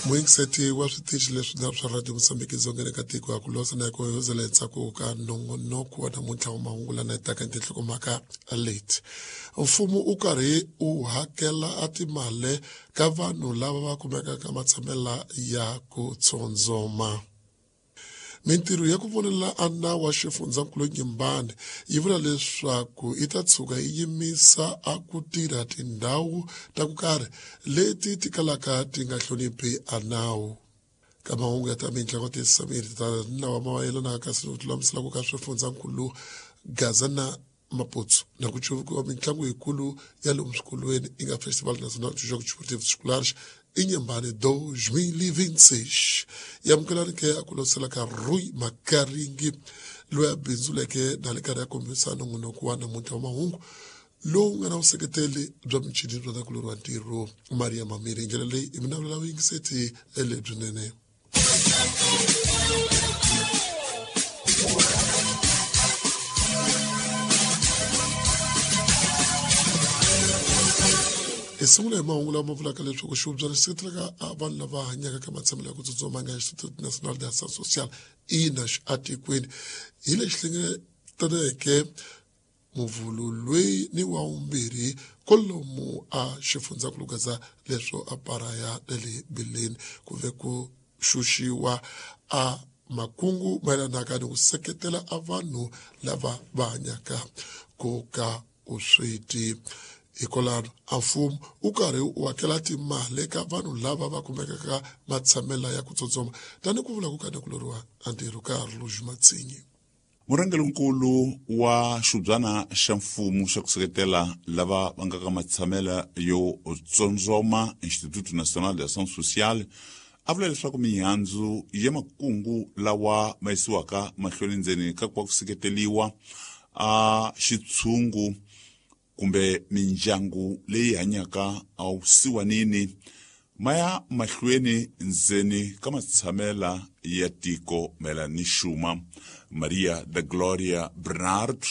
Muyingiseti wa switichi leswi na swa Radio Mozambique dzongeni ka tiko ya ku losa na ku hozela endzhaku ka nongonoko wa namuntlha wa mahungu lana etaka tinhlokomhaka leti. Mfumo u karhi u hakela a timali ka vanhu lava va kumekaka matshamela ya ku tsondzoma. Mintirho ya ku vonela a nawu wa xifundzankulu Nyimbani yi vula leswaku yi ta tshuka yi yimisa a ku tirha tindhawu ta ku karhi leti ti kalaka ti nga hloniphi a nawu. Ka mahungu ya ta mitlangu tisamiri ta nawu mayelanaka kasi ku lulamisela ku ka swifundzankulu Gaza na Maputo na ku cuvukiwa mitlangu yikulu ya lomu swikolweni yi nga Festival Nacional de Jogos Desportivos Escolares Inhambane 2026. Yamukelani ke a ku losela ka Rui Makaringi loyi a bindzuleke na le karhi ya kombisa nongonoko wa namuntlha wa mahungu lowu nga na vuseketeli bya michini bya nakulorhi wa ntirho Maria Mamiri. Hi ndlela leyi i mina vula vuyingiseti lebyinene. Hi sungula hi mahungu lama vulaka leswaku xihubyana xi seketelaka vanhu lava hanyaka ka matshamelo ya ku tsutsuma nga Institute National de Ação Social INAS atikweni hi lexi hlengetaneke Muvhulu loyi ni wa vumbirhi kwalomu a xifundzankulu gaza leswo a paraya na le bileni ku ve ku xuxiwa a makungu mayelanaka ni ku seketela a vanhu lava va hanyaka ku ka vusweti. Hikwalano a mfumo wu karhi wu hakela timali eka vanhu lava va kumekaka matshamela ya ku tsotsoma tani ku vula ku ka nakuloriwa a ntirho ka Rouge Matsinyi. Murhangerinkulu wa xibyana xa mfumo xa ku seketela lava va nga ka matshamela yo tsondzoma Instituto Nacional de Ação Social a vula leswaku mihandzu ya makungu lawa ma yisiwaka mahlweni ndzeni ka ku va ku seketeliwa a xitshungu kumbe mindyangu leyi hanyaka awusiwanini ma ya mahlweni ndzeni ka matshamela ya tiko mayelana ni xuma. Maria da Gloria Bernard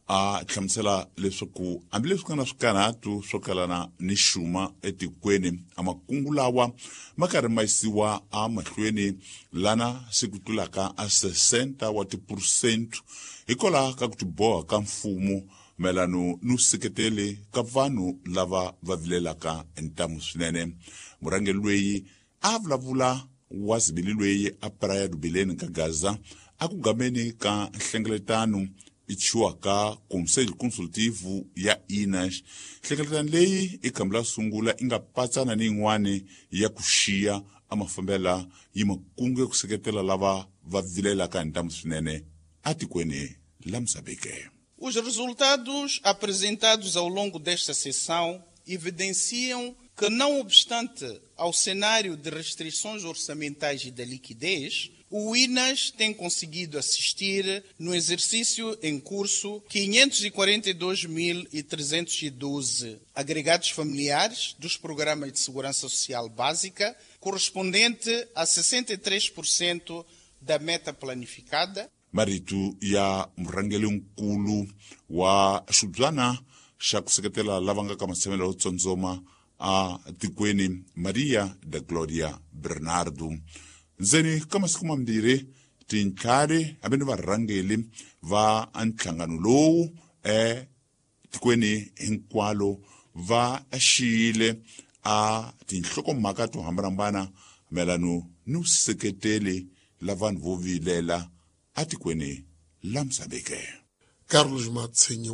a hlamusela leswaku hambileswi ku nga na swikarhatu swo kalana ni xuma etikweni, a makungu lawa ma karhi ma yisiwa emahlweni lana se ku tlulaka a 60 wa tiphurosente hikwalaho ka ku tiboha ka mfumo mayelano ni seketele ka vanhu lava va vilelaka ntamu swinene. Murhangeri loyi a vulavula wa zibili loyi a Praia do Belém ka Gaza a ku gameni ka nhlengeletano i chiwaka Conselho Consultivo ya INAS. Nhlengeletano leyi i khambi la sungula i nga patsana ni yin'wani ya ku xiya a mafambela yi makungu ya ku seketela lava va vilelaka hi ntamu swinene atikweni la Mozambique. Os resultados apresentados ao longo desta sessão evidenciam que, não obstante ao cenário de restrições orçamentais e da liquidez, o INAS tem conseguido assistir, no exercício em curso, 542.312 agregados familiares dos programas de segurança social básica, correspondente a 63% da meta planificada. Marito ya murhangerinkulu wa xibyana xa ku seketela lava nga ka matshamelo yo tsondzoma a tikweni Maria da Gloria Bernardo. Ndzeni ka masiku mambirhi tintlhari hambi ni varhangeli va nhlangano lowu etikweni hinkwalo va xiyile a tinhlokomhaka to hambanahambana mayelano ni vuseketeli la vanhu vo vilela atikweni la Mozambique. Carlos Matsinyi.